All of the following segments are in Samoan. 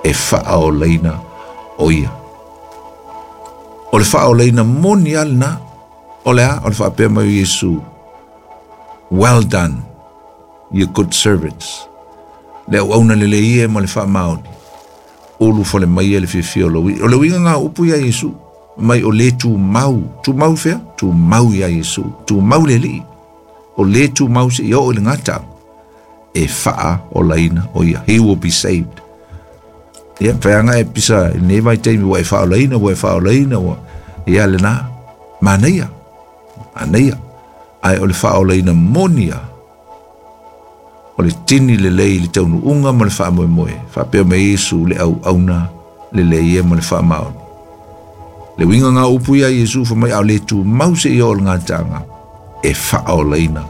e faaolaina o ia. O le faaolaina moni lava lena, o le a? O le faapea mai o Iesu, Well done, you good servants. Le auauna lelei e ma le faamaoni, ulufale mai e le fiafia o lou alii. O le uiga lena o upu ia Iesu, mai o le tumau, tumau fea? Tumau ia Iesu, tumau le Alii. O le tumau seia oo i le gataaga, e faaolaina o ia. He will be saved. Ia, faiaga e pisa i lenei vaitaimi ua e faaolaina, ua e faaolaina, ua... Ia lena, manaia, manaia. Ae o le faaolaina moni lava, o le tini lelei i le taunuuga ma le faamoemoe, faapea mai Iesu le auauna lelei e ma le faamaoni. Le uiga lena o upu ia a Iesu fai mai a o le tumau seia oo i le gataaga e faaolaina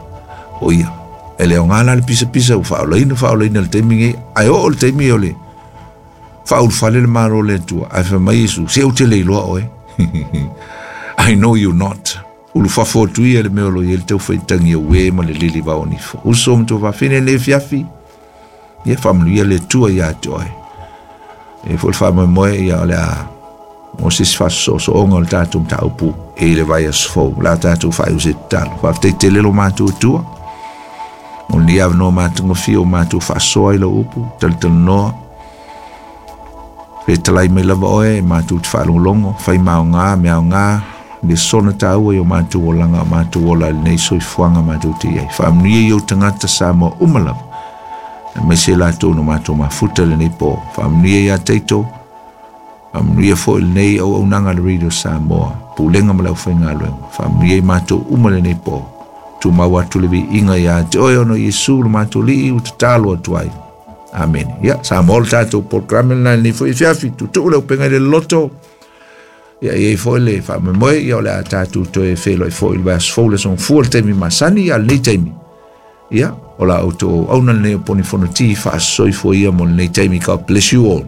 o ia. E le aoga la le pisapisa ua faaolaina faaolaina i le taimi nei, ae oo i le taimi o le faaulufale le Malo o le Atua, ae fai mai Iesu, se ou te le iloa oe. I know you not. Ulufafo atu ia i le mea o lo o i ai le taufaitagi auē ma le lilivao nifo. Uso ma tuafafine lenei afiafi, ia faamanuia le Atua ia te oe. E foi le faamoemoe ia o le a mo se isi faasoosooga o le tatou mataupu i le vaiaso fou. O le a tatou faaiu se tatalo. Faafetai tele lo matou Atua. Mo lenei avanoa matagofie o matou faasoa i lau upu, talatalanoa, Fetalai mai lava oe e matou te faalogologo, fai ma aoga, mea aoga, lesona taua i o matou olaga, o matou ola i lenei soifuaga matou te i ai. Faamanuia i ou tagata Samoa uma lava, aemaise latou na matou mafuta i lenei po. Faamanuia ia Taito, faamanuia foi lenei auaunaga a le Radio Samoa, Pulega ma le aufaigaluega. Faamanuia i matou uma lenei po. Tumau atu le viiga ia te oe ona o Iesu lo matou Alii ua tatalo atu ai. Amene. Ia, Samoa le tatou programe lena i lenei foi afiafi. Tuutuu le upega i le loloto. Ia, e i ai foi le faamoemoe, ia o le a tatou toe feiloai foi i le vaiaso fou le aso Gafua i le taimi masani, ia lenei taimi. Ia, o la outou auauna lenei o Poni Fonoti, faasoifua ia mo lenei taimi. God bless you all.